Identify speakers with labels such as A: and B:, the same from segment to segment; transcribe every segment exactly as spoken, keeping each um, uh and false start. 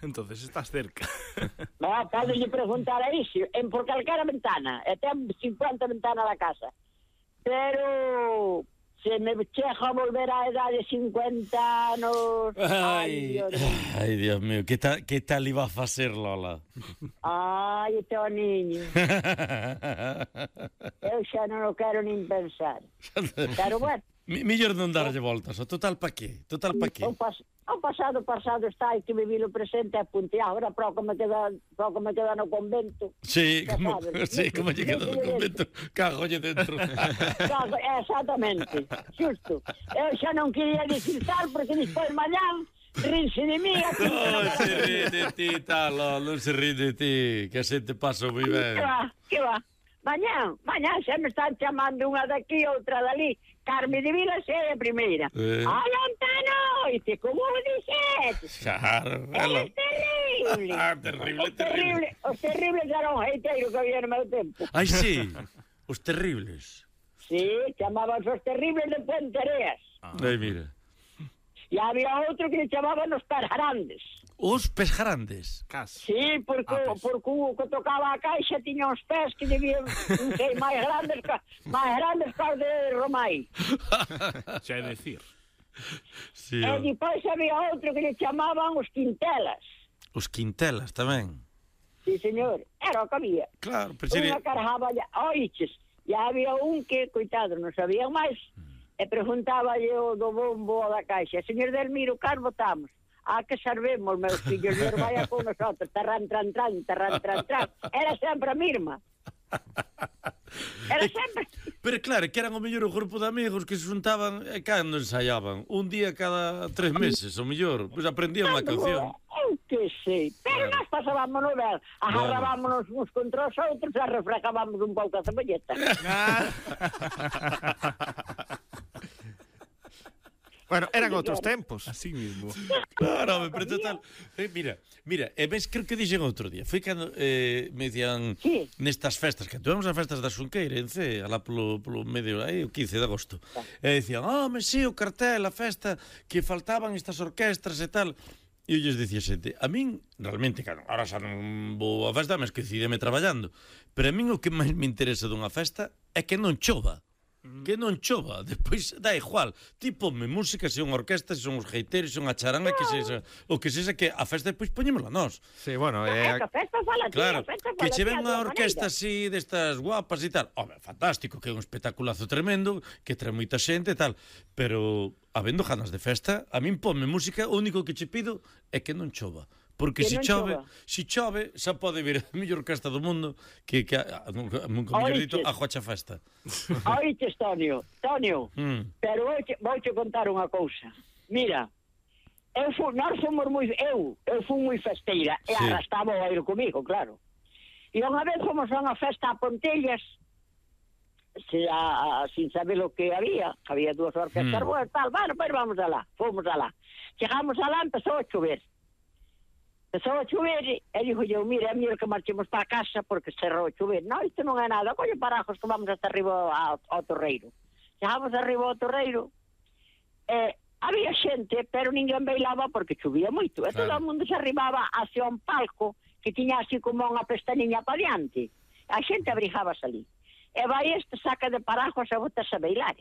A: Entonces estás cerca.
B: No, podes preguntar a iso, en por calquera ventana, e ten cincuenta ventanas da casa. Pero se me chega a volver a edade de cincuenta anos...
C: Ai, Dios ai, Dios mío, que tal, que tal iba a facer, Lola?
B: Ai, o teu niño. Eu xa non o quero nin pensar. Pero bueno...
C: Millor non darlle voltas, o total pa qué? Total pa qué?
B: O, pas, o pasado, pasado está, hai que vivir o presente e punto. E agora pouco me queda, pouco me queda no convento.
C: Sí, como, sí, como lle queda no convento, cagolle dentro.
B: Cago, exactamente, xusto. Eu xa non quería dicir tal, porque despois mañán rinse de mí.
C: Non se rí de ti, talo, non se rí de ti, que a xente pasa moi ben.
B: Que va, que va. Mañán, mañán xa me están chamando unha daqui, outra dali. Carme de Vila é a primeira. Eh. Ai, Antano! E te como dixetes?
C: Claro,
B: é terrible.
C: Ah, terrible,
B: os terrible. Os terribles eran un heiteiro que había no meu tempo.
C: Ai, sí, os terribles.
B: Sí, chamaban os terribles de Puente Areas.
C: Ah. Ai, mira.
B: E había outro que le chamaban os Perjarandes.
C: Os pés grandes?
A: Caso.
B: Sí, porque, ah, pues. porque o que tocaba a caixa tiña uns pés que debían ser máis grandes que, máis grandes que os de Romai.
A: Xa é decir.
C: Sí,
B: e depois había outro que le chamaban os Quintelas.
C: Os Quintelas tamén?
B: Sí, señor. Era o que había.
C: Claro, pero sería...
B: Unha carjaba, oiches, e había un que, coitado, non sabían máis, mm. e preguntaba yo do bombo da caixa, señor Delmiro, cal votamos? A que servemos, meus fillos, e vaya con nosotros, tarran, tran, tran, tarran, tran, tran. Era sempre a mesma. Era sempre...
C: Pero claro, que eran o mellor o grupo de amigos que se juntaban e cando ensaiaban. Un día cada tres meses, o mellor. Pois pues aprendían unha canción.
B: Eu que sei. Pero bueno. Nós pasábamos no ver. Agarrábamos bueno. uns contra os outros e refrescábamos un pouco a cebolleta.
A: Bueno, eran outros tempos. Así mismo.
C: Claro, pero total. Eh, mira, mira, e ves, creo que dixen outro día. Foi cando eh, me dicían sí. nestas festas, que tuvemos as festas da Xunqueira en C, alá polo, polo medio, aí, o quince de agosto. E dicían, oh, me sí, o cartel, a festa, que faltaban estas orquestras e tal. E eu lles dicía xente, a min, realmente, claro, ahora xa non vou a festa, mas que decideme traballando. Pero a min o que máis me interesa dunha festa é que non chova. Que non chova, despois dá igual. Ti ponme música, se son orquestas, se son os geiteiros, se son a charanga, que sexa, o que sexa, que a festa despois poñémola nós.
A: Sí, bueno,
B: é... A festa fala ti,
C: claro,
B: a festa
C: que che ven unha
B: maneira.
C: orquesta así, destas guapas e tal. Home, fantástico, que é un espectaculazo tremendo, que trae moita xente e tal. Pero, habendo ganas de festa, a min ponme música, o único que che pido é que non chova. Porque se si chove, se si chove, xa pode vir a mellor orquesta do mundo que, que a, a, a, a mellor dito, a Joacha Festa.
B: Oiches, Tonio, Tonio, mm. pero vou te contar unha cousa. Mira, eu fu, nós fomos moi, eu, eu fui moi festeira, sí. E arrastaba o aire comigo, claro. E unha vez fomos a unha festa a Pontellas, se, a, a, sin saber o que había, había dúas orquestas, mm. boas, tal, bueno, pois vamos alá, fomos alá. Chegamos alá, empezou a chover. Empezou a chover e dixo eu, mira, é mellor que marchemos para a casa porque cerrou a chover. Non, isto non é nada, coño parajos que vamos hasta arriba ao, ao Torreiro. Chegamos arriba ao Torreiro e había xente, pero ninguén bailaba porque chovía moito. E todo o mundo se arribaba hacia un palco que tiña así como unha pestañinha para diante. A xente abrijábase ali. E vai este saca de parajos e botas a bailar.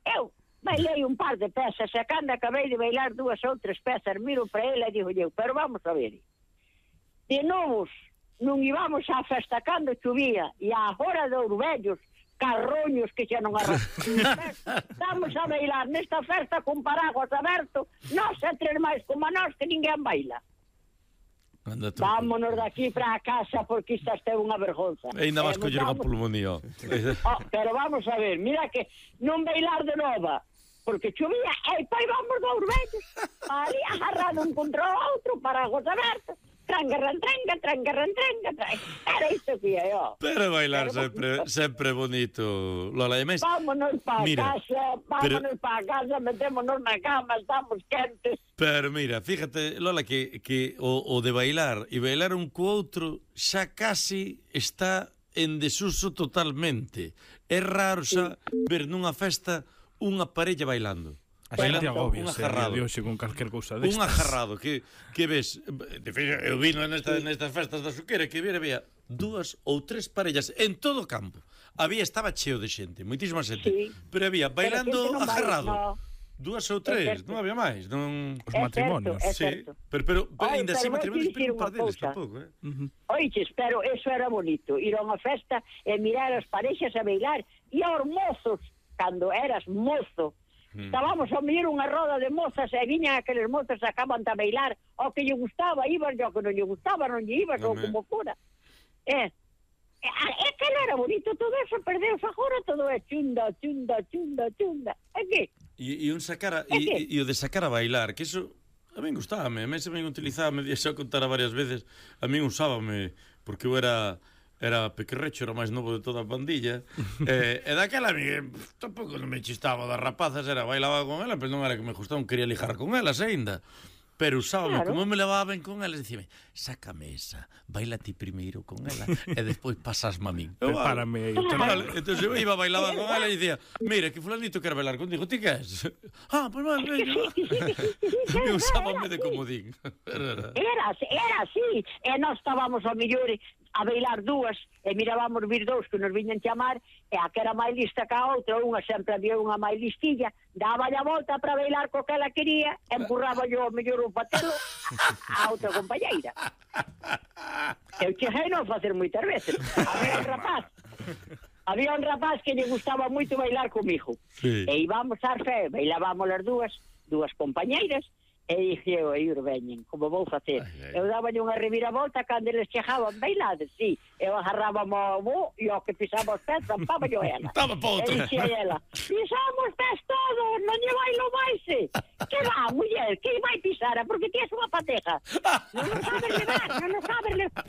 B: Eu bailei un par de pezas e cando acabei de bailar dúas ou tres pezas, miro para ele e digo eu, pero vamos a ver. De novos, non íbamos á festa cando chovía e á hora de Ourbellos, carroños que xa non arrastamos. Estamos a bailar nesta festa con paraguas aberto, nós e tres máis como a nós que ninguén baila. Vámonos daqui para a casa porque isto está unha vergonza.
C: E ainda vas coller unha pulmonía.
B: Oh, pero vamos a ver, mira que non bailar de nova porque chovía, e pai vamos do Ourbellos ali agarrado un contra o outro, paraguas abertos, trangarran, tranga, trangarran, tranga, era isto que é, ó.
C: Pero bailar pero, sempre, sempre bonito, Lola. E mes,
B: vámonos para casa, vámonos pero, para casa, metémonos na cama, estamos quentes.
C: Pero mira, fíjate, Lola, que, que o, o de bailar e bailar un co outro xa casi está en desuso totalmente. É raro xa sí. ver nunha festa unha parella bailando.
A: A xente agobia, se de hoxe con calquer cousa destas.
C: Un agarrado que, que ves, de feito, eu vino nesta, nestas festas da Suqueira, que vira, había dúas ou tres parellas en todo o campo. Había, estaba cheo de xente, moitísima xente, sí. Pero había bailando agarrado. No. Dúas ou tres, non había máis, non
A: os matrimonios.
B: É
C: sí,
B: certo.
C: pero pero, pero
B: Ai,
C: ainda así matrimonios pero un par deles tampouco, eh.
B: Uh-huh. Oiches, pero eso era bonito, ir a unha festa e mirar as parexas a bailar e aos mozos, cando eras mozo, mm. estábamos a mirar unha roda de mozas e viñan aqueles mozos acaban de bailar, o que lle gustaba, ibas, o que non lle gustaba, non lle ibas, no ou como fora. Eh, é que non era bonito, todo eso perdeu, agora todo é chunda, chunda, chunda, chunda. É que
C: E, e un sacar a, e, e o de sacar a bailar, que eso a min gustábame, a mí se me utilizaba, me xa contara varias veces, a min usábame, porque eu era era pequerrecho, era máis novo de toda a pandilla, e, e daquela a mí tampouco non me chistaba das rapazas, era bailaba con ela, pero non era que me gustaba, non quería lijar con elas aínda. Pero usábame, claro. Como me levaba ben con elas, dicime, sácame esa, baila ti primeiro con ela e despois pasasme a min.
A: Prepárame aí.
C: Vale, entón eu iba, bailaba con ela e dicía, mira, que fulanito quer bailar contigo, ti que és? Ah, pois vale, venga. Me usábame de comodín.
B: Era, era así, e nós estábamos ao mellor a bailar dúas e mirábamos vir dous que nos viñan chamar e a que era máis lista que a outra, unha sempre había unha máis listilla, daba a volta para bailar co que ela quería, empurraba yo ao mellor un patelo a outra compañeira. Eu cheguei non facer moitas veces. Había un rapaz, había un rapaz que lle gustaba moito bailar comigo. Sí. E íbamos ás fe, bailábamos as dúas, dúas compañeiras, e dixi eu, aí veñen, como vou facer? Ai, ai. Eu daballe unha reviravolta cando eles chegaban bailades, sí. Eu agarraba o bo e o que pisaba os pés, zampaba yo ela.
C: Estaba pa outra.
B: E dixi ela, pisamos pés todos, non lle bailo máis. Que va, muller, que vai pisar? Porque ti és unha pateja. Non nos sabes levar, non nos sabes levar.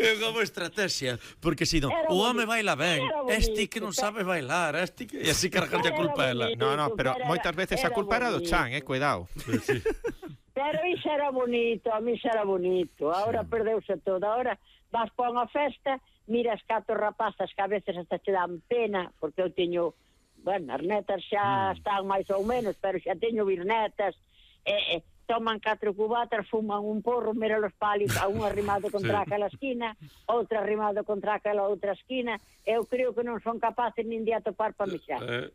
C: É como estrategia, porque si non, o home baila ben, este que non sabe bailar, este que... E así cargarlle a culpa a ela.
A: No, no, pero moitas veces a culpa era do chan, eh, cuidado.
C: Sí.
B: Pero iso era bonito, a mí iso era bonito. Ahora sí. Perdeuse todo. Ahora vas para unha festa, miras catro rapazas que a veces hasta te dan pena, porque eu teño, bueno, as netas xa mm. están máis ou menos, pero xa teño bisnetas, e, e toman catro cubatas, fuman un porro, mira los palis, a un arrimado contra sí. aquela esquina, outro arrimado contra aquela outra esquina. Eu creo que non son capaces nin de atopar para mexar. Eh.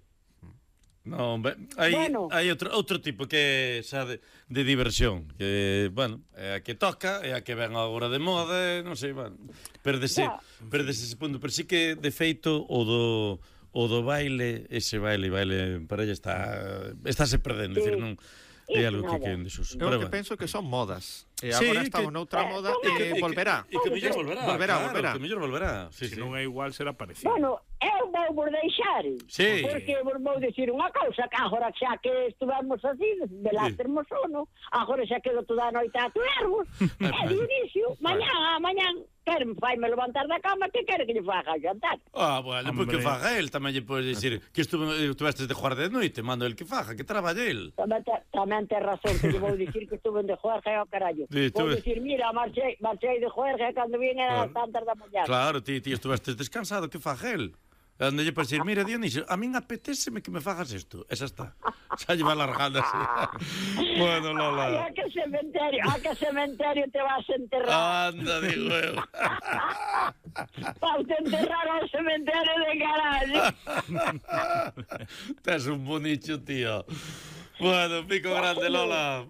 C: Non, hai, bueno. hai outro, outro tipo que xa de, de diversión, que, bueno, é a que toca, é a que ven agora de moda, non sei, bueno, perdese, perdese ese punto, pero sí que de feito o do o do baile, ese baile, baile en parella está está se perdendo, sí. Decir, non é algo que queren desuso.
A: Eu que penso que son modas. E agora sí, estamos que, noutra moda e que, que volverá.
C: E que mellor volverá.
A: Volverá,
C: claro,
A: volverá.
C: Que mellor volverá.
A: Sí, se sí. Non é igual, será parecido.
B: Bueno, eu vou vos deixar.
C: Sí.
B: Porque vos vou dicir unha cousa, que agora xa que estuvamos así, de lá sí. Termos sono, agora xa quedo toda a noite a tuervos, e de inicio, mañá, mañá, quer faime levantar da cama, que quere que lle faga jantar?
C: Ah, bueno, pois que faga el, tamén lle podes dicir que estuvestes de jugar de noite, mando el que faga, que traballe el.
B: Tamén te, tamén te razón, que lle vou dicir que estuve de juerga ao carallo. Sí, vou dicir, mira, marchei, marchei de juerga cando vin era claro. Tantas da mañá.
C: Claro, ti, ti estuvestes descansado, que faga el? Onde lle para dicir, mira, Dionisio, a min apetéceme que me fagas isto. Esa está. Xa lle va largando así. Bueno, Lola.
B: Ay, a que cementerio, a que cementerio te vas a enterrar.
C: Anda, digo eu.
B: Vas a enterrar ao cementerio de carallo.
C: Tes un bonicho, tío. Bueno, pico grande, Lola.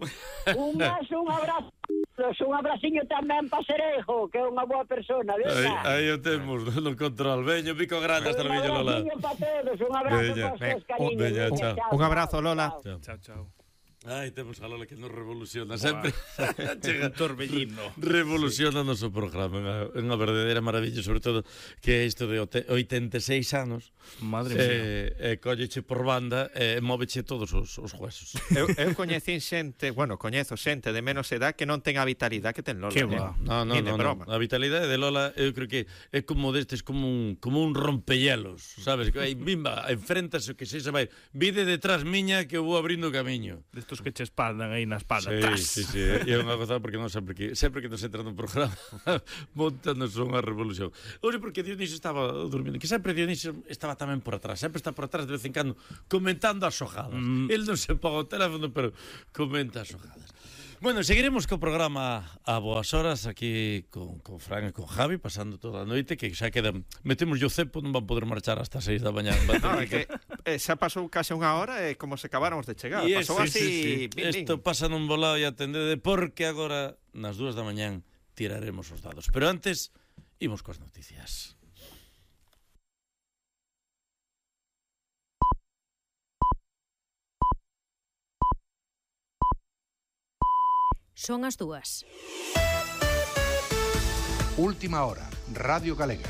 B: Un beso, un abrazo. Un abraciño tamén para Serejo, que é unha boa persona, verdad?
C: Aí, aí o temos no control. Veño, pico grande, hasta luego, Lola.
B: Un abraciño para todos, un abrazo para os cariños.
C: Veña, chao.
A: Un abrazo, Lola.
C: Chao, chao. chao. Ai, temos a Lola que nos revoluciona sempre.
A: Chega un torbellino.
C: Revoluciona o noso programa. É unha verdadeira maravilla, sobre todo que é isto de oitenta e seis anos.
A: Madre mía.
C: E eh, colleche por banda e eh, móveche todos os, os huesos.
A: Eu, eu coñecín xente, bueno, coñezo xente de menos edad que non ten a vitalidade que ten Lola.
C: Que va. No, no, no, no. A vitalidade de Lola eu creo que é como destes, como un, como un rompehielos, sabes? Que aí, bimba, enfréntase o que se vai. Vide detrás miña que eu vou abrindo camiño.
A: Destos
D: datos que che espaldan aí na espalda.
C: Sí,
D: Tas.
C: sí, sí, e é unha gozada porque non sempre que sempre que nos entra no programa montanos unha revolución. Hoxe porque Dionisio estaba dormindo, que sempre Dionisio estaba tamén por atrás, sempre está por atrás de vez en cando comentando as xogadas. Mm. El non se paga o teléfono, pero comenta as xogadas. Bueno, seguiremos co programa a boas horas aquí con, con Fran e con Javi, pasando toda a noite, que xa quedan, metemos o cepo, non van poder marchar hasta seis da mañá.
A: No, é que eh, xa pasou case unha hora e eh, como se acabáramos de chegar.
C: Y
A: pasou
C: es,
A: así...
C: Sí, sí. Isto pasa nun volado e atendede, porque agora, nas dúas da mañán, tiraremos os dados. Pero antes, imos coas noticias.
E: Son as dúas.
F: Última hora, Radio Galega.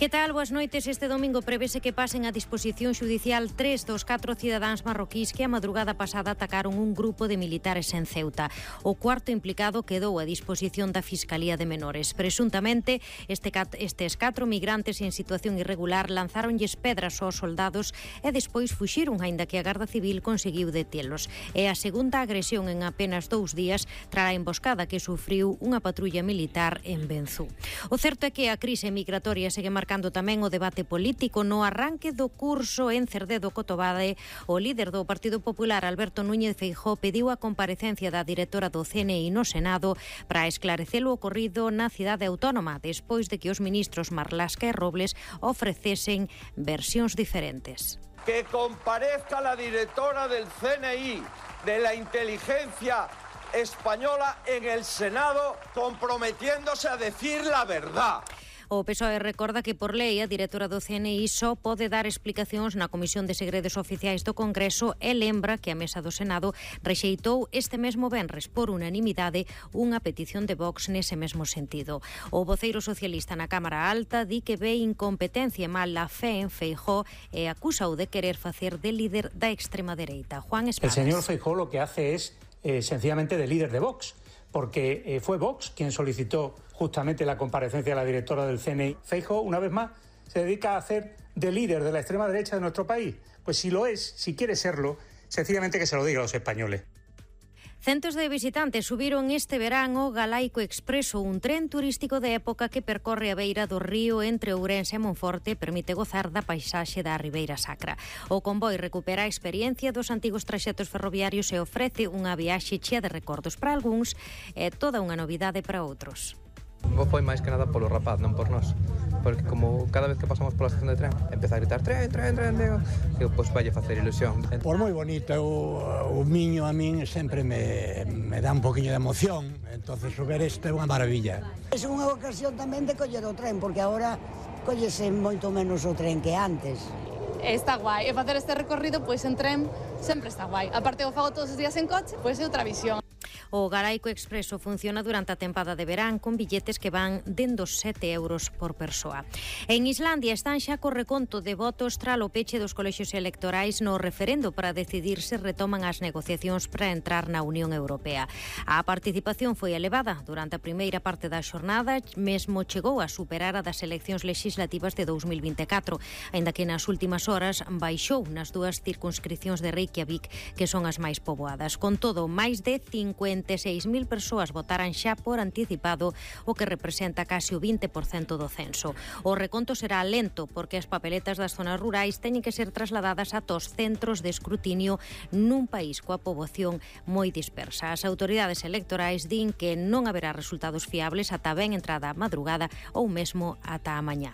E: Que tal? Boas noites. Este domingo prevese que pasen a disposición xudicial tres dos catro cidadáns marroquís que a madrugada pasada atacaron un grupo de militares en Ceuta. O cuarto implicado quedou a disposición da Fiscalía de Menores. Presuntamente, este cat, estes catro migrantes en situación irregular lanzáronlles pedras aos soldados e despois fuxiron, aínda que a Garda Civil conseguiu detelos. É a segunda agresión en apenas dous días tras a emboscada que sufriu unha patrulla militar en Benzú. O certo é que a crise migratoria segue marcando Cando tamén o debate político no arranque do curso en Cerdedo Cotobade, o líder do Partido Popular, Alberto Núñez Feijóo, pediu a comparecencia da directora do C N I no Senado para esclarecer o ocorrido na cidade autónoma, despois de que os ministros Marlasca e Robles ofrecesen versións diferentes.
G: Que comparezca la directora del C N I, de la inteligencia española, en el Senado, comprometiéndose a decir la verdad.
E: O P S O E recorda que por lei a directora do C N I só pode dar explicacións na Comisión de Segredos Oficiais do Congreso e lembra que a Mesa do Senado rexeitou este mesmo venres por unanimidade unha petición de Vox nese mesmo sentido. O voceiro socialista na Cámara Alta di que ve incompetencia e mala fe en Feijóo e acúsao de querer facer de líder da extrema dereita. Juan Espadas.
H: El señor Feijóo lo que hace es eh, sencillamente de líder de Vox, porque eh, fue Vox quien solicitó justamente la comparecencia de la directora del C N I. Feijóo, una vez más, se dedica a hacer de líder de la extrema derecha de nuestro país. Pues si lo es, si quiere serlo, sencillamente que se lo diga a los españoles.
E: Centos de visitantes subiron este verán o Galaico Expreso, un tren turístico de época que percorre a beira do río entre Ourense e Monforte e permite gozar da paisaxe da Ribeira Sacra. O convoi recupera a experiencia dos antigos traxetos ferroviarios e ofrece unha viaxe chea de recordos para algúns e toda unha novidade para outros.
I: Foi máis que nada polo rapaz, non por nós, porque como cada vez que pasamos pola estación de tren empeza a gritar tren, tren, tren, digo, que pois vai a facer ilusión.
J: Por moi bonito, o, o miño a min sempre me, me dá un poquinho de emoción, entonces ver isto é unha maravilla.
K: É unha ocasión tamén de coller o tren, porque agora collese moito menos o tren que antes.
L: Está guai, e facer este recorrido pois en tren sempre está guai. Aparte o fago todos os días en coche, pois é outra visión.
E: O Galaico Expreso funciona durante a tempada de verán con billetes que van dende os sete euros por persoa. En Islandia están xa co reconto de votos tras o peche dos colexios electorais no referendo para decidir se retoman as negociacións para entrar na Unión Europea. A participación foi elevada durante a primeira parte da xornada, mesmo chegou a superar a das eleccións legislativas de dous mil vinte e catro, aínda que nas últimas horas baixou nas dúas circunscripcións de Reykjavik, que son as máis poboadas. Con todo, máis de cincuenta e seis mil persoas votaran xa por anticipado, o que representa case o vinte por cento do censo. O reconto será lento porque as papeletas das zonas rurais teñen que ser trasladadas a tos centros de escrutinio nun país coa poboación moi dispersa. As autoridades electorais din que non haberá resultados fiables ata ben entrada a madrugada ou mesmo ata a mañá.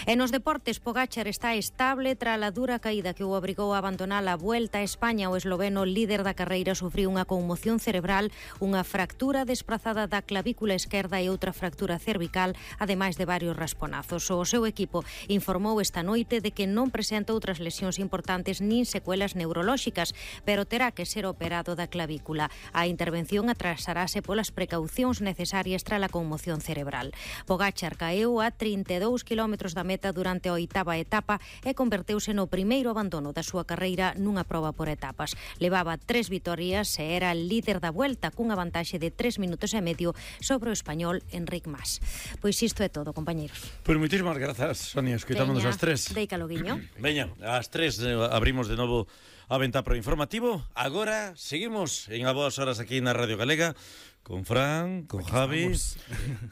E: E nos deportes, Pogačar está estable tras a dura caída que o obrigou a abandonar a Vuelta a España. O esloveno líder da carreira sufriu unha conmoción cerebral, unha fractura desprazada da clavícula esquerda e outra fractura cervical, ademais de varios rasponazos. O seu equipo informou esta noite de que non presenta outras lesións importantes nin secuelas neurolóxicas, pero terá que ser operado da clavícula. A intervención atrasarase polas precaucións necesarias tras a conmoción cerebral. Pogačar caeu a trinta e dous kilómetros da meta durante a oitava etapa e converteuse no primeiro abandono da súa carreira nunha proba por etapas. Levaba tres vitorias e era líder da Vuelta, cun cunha vantaxe de tres minutos e medio sobre o español Enric Mas. Pois isto é todo, compañeros.
C: Pois moitísimas grazas, Sonia, escoitámonos ás tres.
E: Deica loguiño.
C: Veña, ás tres eh, abrimos de novo a venta pro informativo. Agora seguimos en a boas horas aquí na Radio Galega con Fran, con aquí Javi.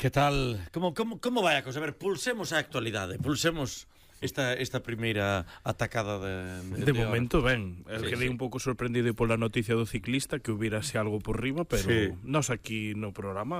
C: Que tal? Como, como, como vai a cosa? A ver, pulsemos a actualidade, pulsemos esta esta primeira atacada de
D: De, de momento, ben, sí, quedei sí. un pouco sorprendido pola noticia do ciclista que hubiérase algo por riba, pero sí. Nos aquí no programa